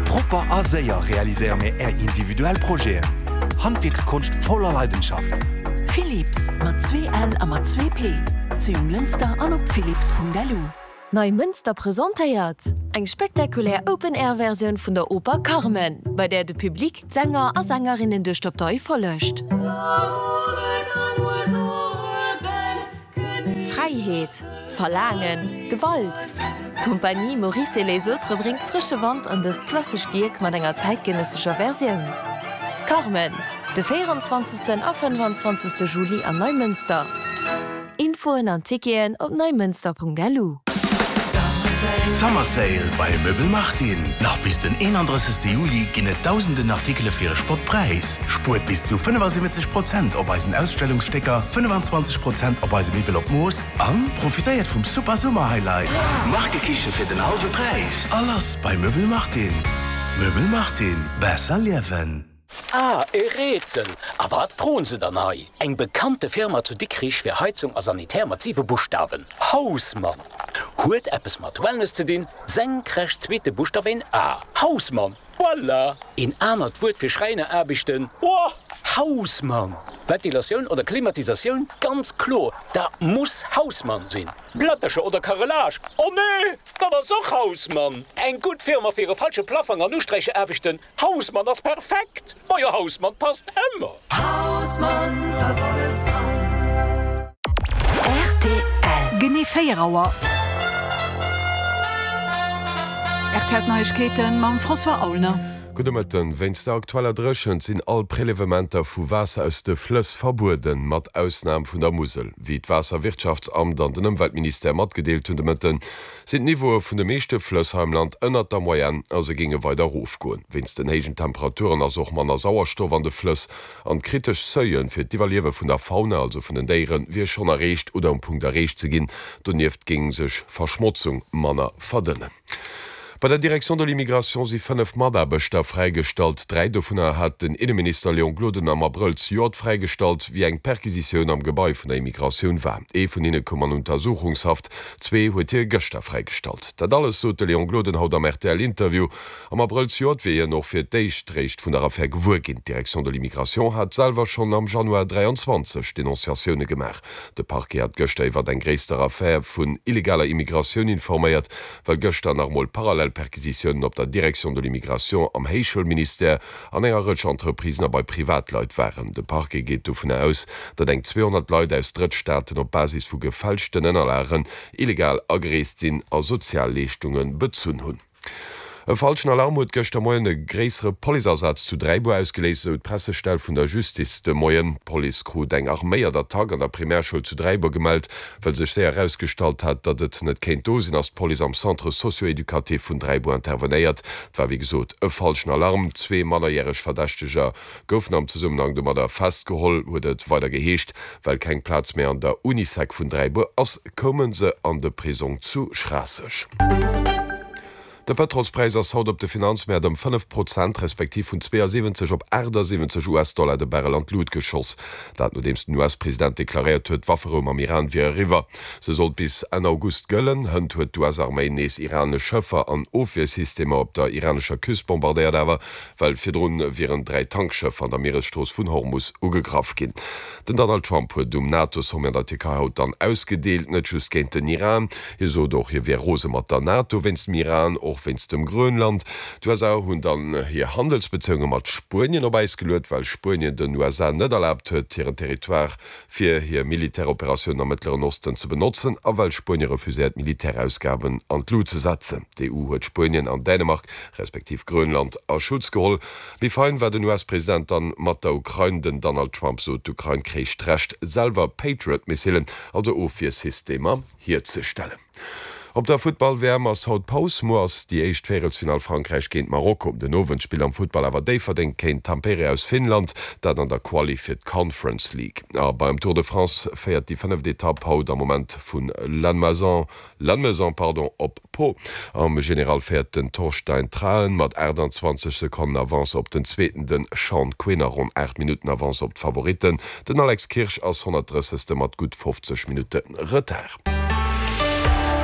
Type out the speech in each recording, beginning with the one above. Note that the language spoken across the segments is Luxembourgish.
Propper a séier realiséiere mir Är individuell Projeten. Handwierkskonscht voller Leidenschaft. Philips, mat 2 L a mat 2 P, zu Jonglënster an op philips.lu. Neimënster presentéiert eng spektakulär Open-Air-Versioun vun der Oper Carmen, bei där de Public d'Sänger a Sängerinnen duerch d'Abtei follegt. Fräiheet, Verlaangen, Gewalt, D'Compagnie Maurice et les autres bréngt frësche Wand an dëst klassescht Wierk mat enger zäitgenëssescher Versioun. Carmen, de 24. a 25. Juli an Neimënster. Infoen an Ticketen op neimënster.lu. Summer Sale bei Möbel Martin! Nach bis den 31. Juli ginn et dausenden Artikele fir e Spottpräis. Spuert bis zu 75 Prozent op eisen Ausstellungsstécker, 25 Prozent op eise Miwwel op Mooss an profitéiert vum super Summer Highlight! Markekiche fir den hallwe Präis! A lass bei Möbel Martin! Möbel Martin, besser liewen! Ah, e Rätsel! A wat froen se dann hei? Eng bekannte Firma zu Dikrich fir Heizung a Sanitär mat siwe Buschtawen, Hausmann! Huet eppes mat Wellness ze dinn, senkrecht zweete Buschtaf een A, Hausmann! Voilà! Een anert Wuert fir Schräineraarbechten, Boah! Hausmann! Ventilatioun oder Klimatisatioun, ganz kloer, dat muss Hausmann sinn! Plättercher oder Carrelage, oh nee, dat ass och Hausmann! Eng gutt Firma fir e falsche Plaffang an Usträicheraarbechten, Hausmann ass perfekt! Majo Hausmann passt ëmmer! Hausmann, t'ass alles dran. Rtl. Genee 4 Auer. Rtl D'Neiegkeeten mam François Aulner. Gudde Mëtten. Wéinst der aktueller Dréchent sinn all Prélevementer vu Waasser aus de Flëss verbueden, mat Ausnam vun der Musel. Wéi d'Waasserwirtschaftsamt an den Ëmweltministère matgedeelt hunn de Mëtten, sinn d'Niveaue vun de meeschte Flëss hei am Land ënnert der Moyenne a se géinge weider erofgoen. Wéinst den héijen Temperaturen ass och manner Sauerstoff an de Flëss an d'kritesch Seuile fir d'Iwwerliewe vun der Fauna, also vun den Déieren, wier schonn erreecht oder um Punkt erreecht ze ginn. Donieft géing sech Verschmotzung manner verdënnen. Bei der Direction de l'immigration si 5 Mataarbechter fräigestallt. 3 dovunner hat den Inneminister Léon Gloden am Abrëll zejoert fräigestallt, wéi eng Perquisitioun am Gebai vun der Immigratioun war. Ee vun hinne koum an Untersuchungshaft, Zwee huet hie gëschter fräigestallt. Dat alles sot de Léon Gloden haut am RTL-Interview. Am Abrëll zejoert wier hien och fir d'éischt réischt vun der Affär gewuer ginn. D'Direction de l'immigration hat selwer schonn am Januar 23 Denonciatioune gemaach. De Parquet hat gëschter iwwert eng gréisster Affär vun illegaler Immigratioun informéiert, well gëschter nach emol parallel Perquisitiounen op der Direction de l'immigration, am Héichschoulministère, an enger Rëtsch Entreprisen a bei Privatleit waren. De Parquet geet dovunner aus, datt eng 200 Leit aus Drëttstaaten op Basis vu gefälschten Ënnerlagen illegal agereest sinn a Sozialleeschtunge bezunn hunn. E falschen Alarm huet gëschter Moien e gréissere Policeasaz zu Dräibuer ausgeléist, esou d'Pressestell vun der Justice de Moien. D'Police krut eng arméiert Attack an der Primärschoul zu Dräibuer gemellt. Well sech séier erausgestallt hat, datt et net kéint do sinn, ass d'Police am Centre socio-éducatif vun Dräibuer intervenéiert. Et war wéi gesot e falschen Alarm. Zwee mannerjäreg Verdächteger goufen am Zesummenhang domadder festgeholl, huet et weider geheescht. Well keng Plaz méi an der Unisec vun Dräibuer ass, koume se an de Prisong zu Schraasseg. De Pëtrolspräis ass haut op de Finanzmäert ëm 5 Prozent, respektiv vun 72 op 78 US-Dollar de Barrel an d'Lut geschoss. Dat nodeems den US-President deklaréiert huet, d'Wafferou mam Iran wier eriwwer. Se sollt bis Enn August gëllen. Hënt huet d'US-Arméi nees iranesch Schëffer an Ofwiersystemer op der iranescher Küst bombardéiert, awer well virdrun wieren 3 Tankschëffer an der Mieresstrooss vun Hormus ugegraff ginn. Den Donald Trump huet um NATO-Sommet an der Tierkei haut dann ausgedeelt, net just géint den Iran. Hie sot och, hie wier rose mat der NATO wéinst dem Iran, och wéinst dem Grönland. D'USA hunn dann hir Handelsbezéiunge mat Spuenien op Äis geluet, well Spuenien den USA net erlaabt huet, hiren Territoire fir hir Militäroperatiounen am Mëttleren Osten ze benotzen a well Spuenie refuséiert, Militärausgaben an d'Lut ze setzen. D'EU huet Spuenien an Dänemark, respektiv Grönland a Schutz geholl. Méi fein war den US-President dann mat der Ukrain. Den Donald Trump sot, d'Ukrain kréich d'Recht, selwer Patriot-Missilen, also Ofwiersystemer, hierzestellen. Op der Futtball-WM ass haut Paus. Muer ass déi éischt Véierelsfinall Frankräich géint Marokko. Den Owend spillt am Futtball awer Déifferdeng géint Tampere aus Finnland, dat an der Quali fir d'Conference League. A beim Tour de France féiert déi fënneft Etapp haut am Moment vu Lannemezan Lannemezan pardon, op Pau. Am General féiert den Torstein Traen mat 28 Sekonnen Avance op den Zweeten, den Sean Quinn a ronn 8 Minutten Avance op d'Favoritten. Den Alex Kirsch ass 130. Mat gutt 50 Minutte Retard.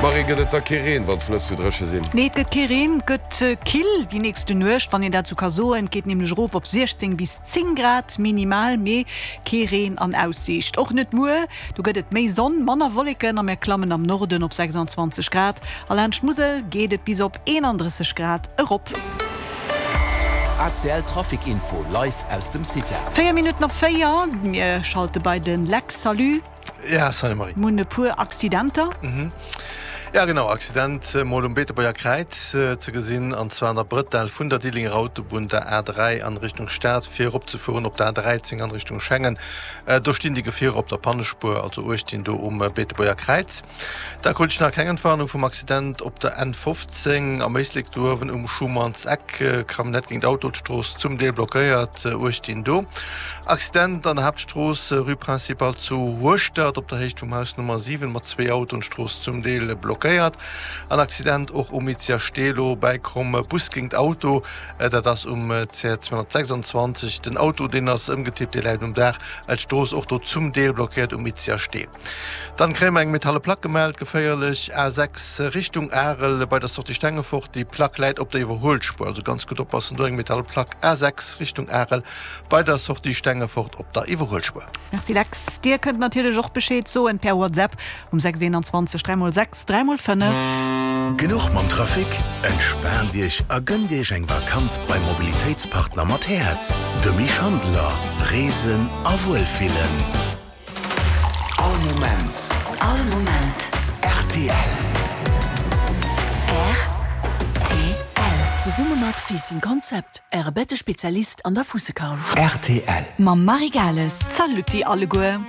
Marie, gëtt et da kee Reen, wann d'Flëss sou dréche sinn? Nee, et gëtt kee Reen, et gëtt kill déi nächste Nuecht, wann een dat sou ka soen. Et geet nämlech erof op 16 bis 10 Grad minimal, mee kee Reen an Aussiicht. Och net muer, do gëtt et méi Sonn, manner Wolleken a mir klammen am Norden op 26 Grad a laanscht d'Musel geet et bis op 31 Grad erop. ACL Trafic Info live aus dem CITA. 4 Minutten op 4, mir schalte bei de Lex. Salut. Ja, salut Marie. Mir hunn e puer Accidenter. Ja genau, Accident mol um Beetebuerger Kräiz ze gesinn, an zwar an der Brëtell vun der Diddelenger Autobunn, der A3 an Richtung Stad, fir eropzefueren op der A13 an Richtung Schengen. Do stinn déi Gefierer op der Pannespuer, also uecht dinn do um Beetebuerger Kräiz. Da krut ech nach keng Entwarnung vum Accident op der N 15 am Éislek do uewen um Schumann's Eck. Camionnette géint Auto, d'Strooss zum Deel blockéiert, uecht dinn do. Accident an der Haaptstrooss, Rue Principale zu Hueschtert, op der Héicht vum Haus Nummer 7 mat zwee Autoen, d'Strooss zum Deel blockéiert. An Accident och um Itzia Stelo bäi Kromm, Bus géingt Auto, dat ass um CR 226. Den Auto deen ass ëmgetippt, dee läit um Daach, d'Strooss och do zum Deel blockéiert um Itzia Stee. Dann kréie mer eng metalle Plack gemellt, geféierlech, A6 Richtung Arel bei der Sortie Stengefort. Déi Plack läit op der Iwwerhuelspuer, also ganz gutt oppassen do. Eng metalle Plack A6 Richtung Arel bei der Sortie Stengefort op der Iwwerhuelspuer. Merci Lex. Dir kënnt natierlech och Bescheed soen per WhatsApp um 6 21 3 x 6 3 x 5. Genuch mam Trafic? Entspaant Iech a gënnt Iech eng Vakanz beim Mobilitéitspartner mat Häerz, dem Misch Handeler. Reesen a Wuelfillen. All Moment. All Moment. Rtl. Rtl. Zesumme mat Ficing Concept, Äre Bettespezialist an der Fussekaul. Rtl. Mam Marie Gales. Saluti alleguer.